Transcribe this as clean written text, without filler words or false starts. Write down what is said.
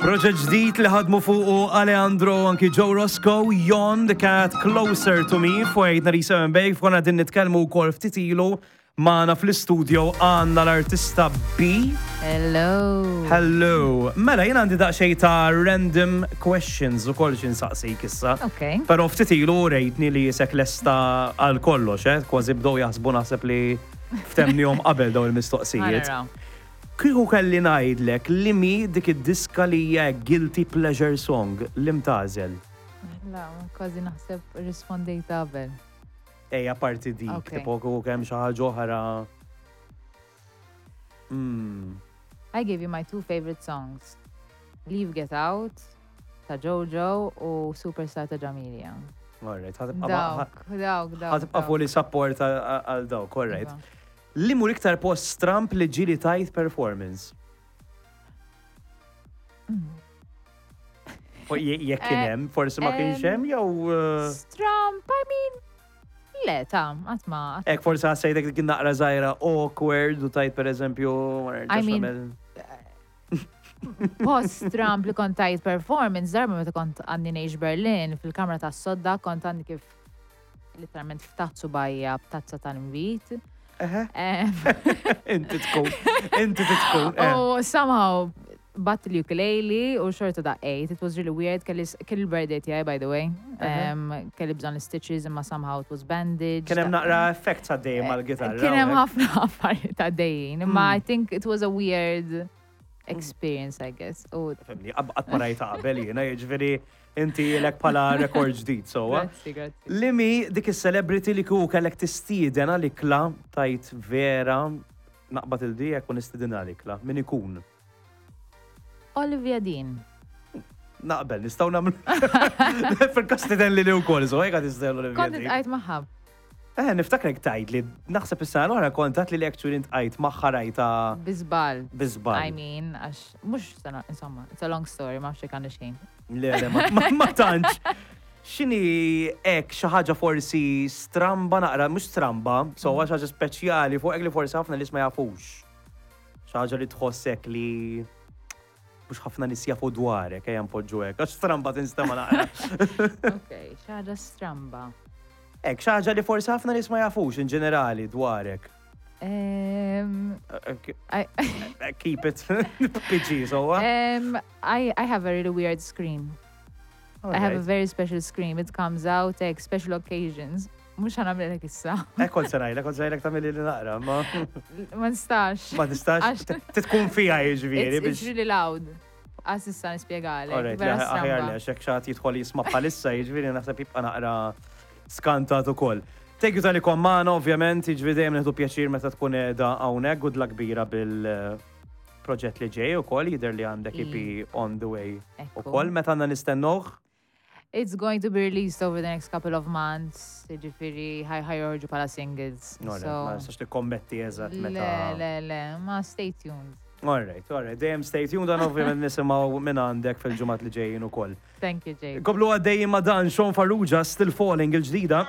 Proġett ġdid li ħadmu fuqu Alejandro anki Joe Roscoe, Yon the Cat Closer to Me fuq 897 Bej, f'konna din nitkellmu wkoll ftit ilu magħna fl-istudio għandna l-artista B. Hello. Hello. Mela jien għandi daqsxejn ta' random questions ukoll xi nsaqsik issa. Ok. Però ftit ilu rejtni li jisek lesta għal kollox, eh? Kważi bdew jaħsbu naħseb li ftemnihom qabel dawn il-mistoqsijiet. Ħa naraw. Kieku kelli ngħidlek li mi dik id-diska li hija guilty pleasure song li mtagħżel? La, kważi naħseb rispondejt qabel. Ejja parti dik, Ok. tipo kieku kemm xi ħaġa oħra. Mm. I gave you my two favorite songs. Leave Get Out ta' Jojo u Superstar ta' Jamilia. Alright, ħatibqa' Dawk, dawk, dawk. ħatibqa' dawk. fully support għal dawk, alright. Iva. Li mur iktar post stramp li ġili tajt performance? U Jekk kien Eh, hemm, forsi ma kienx em, hemm jew eh, Stramp, I mean, le, ta' għatma. Ek forsi ħassejtek dik naqra żgħira awkward u tajt pereżempju ma nerġax I mean, nagħmel- Post Trump li kont tajt performance, darba meta kont għandi ngħix Berlin, fil-kamra tas sodda kont għandi kif literalment ftaħt subajja b'tazza tal-invit. Eħe, Em, Inti tkun, inti tkun. eh. U somehow bat l-ukulele u xorta daqqejt. It was really weird. Kelli kelli l-birthday tiegħi, by the way. Em, Kelli bżonn stitches imma somehow it was bandaged. Kien hemm naqra effekt għaddej mal-gitarra. Kien hemm hawnhekk. ħafna affarijiet għaddejjin. Imma I think it was a weird experience, I guess. U Fimni, qatt ma rajta qabel jiena, jiġifieri inti lek bħala rekord ġdid, sowa. grazzi, grazzi. Limi dik is-celebrity li kieku kellek tistieden għal-ikla tajt vera naqbad il-dijek u nistieden għal-ikla. Min ikun? Olivia Dean. Naqbel, nistgħu nagħmlu. Fil-każ tiden li li wkoll, so hekk tistieden Olivia Kont Dean. itqajt magħha. Eh, niftakrek tajt li naħseb is-sena l-oħra kont għat li li actually ntqajt magħha rajta Bi żball. bi żball. I mean, għax mhux sena, insomma, it's a long story, ma nafx jekk għandi xejn. Le, le, ma- ma ma tantx. X'inhi hekk xi ħaġa forsi stramba naqra, mhux stramba, so xi ħaġa speċjali fuq li forsi ħafna nies ma jafux. Xi ħaġa li tħossek li mhux ħafna nies jafu dwarek, ejja npoġġu hekk, għax stramba tinstema' naqra. Ok, xi ħaġa stramba. Hekk xi ħaġa li forsi ħafna nies ma jafux in ġenerali dwarek. Um, I, Keep it PG, so. um, I, I have a really weird scream. I have a very special scream. It comes out like special occasions. Mux ħanamlilek issa. Ekkol se ngħidlek, kont se ngħidlek tagħmilli li naqra, ma Ma nistax. ma tistax Għax- titkun fija jiġifieri It's, it's really loud. Għas issa nispjegalek. Alright, Vera aħjar stramba. li għax hekk xi ħadd jidħol jisma' bħalissa, jiġifieri naħseb jibqa' naqra skantat ukoll. Thank you talli kont magħna, ovvjament, jiġifieri dejjem nieħdu pjaċir meta tkun qiegħda hawnhekk, good luck kbira bil-proġett li ġej ukoll, jidher li għandek EP on the way Ekku. ukoll, meta għandna nistennuh. It's going to be released over the next couple of months. Jiġifieri, ħaj ħaj joħorġu bħala singles. Alright, So, ma nistax tikkommetti eżatt le, meta. le, le, ma stay tuned. Alright, alright, dejjem stay tuned, dan ovvjament nisimgħu minn għandek fil-ġimgħat li ġejjin ukoll. Thank you, Jake. Komplu għaddejjin ma' dan Sean Farrugia, Still Falling il-ġdida.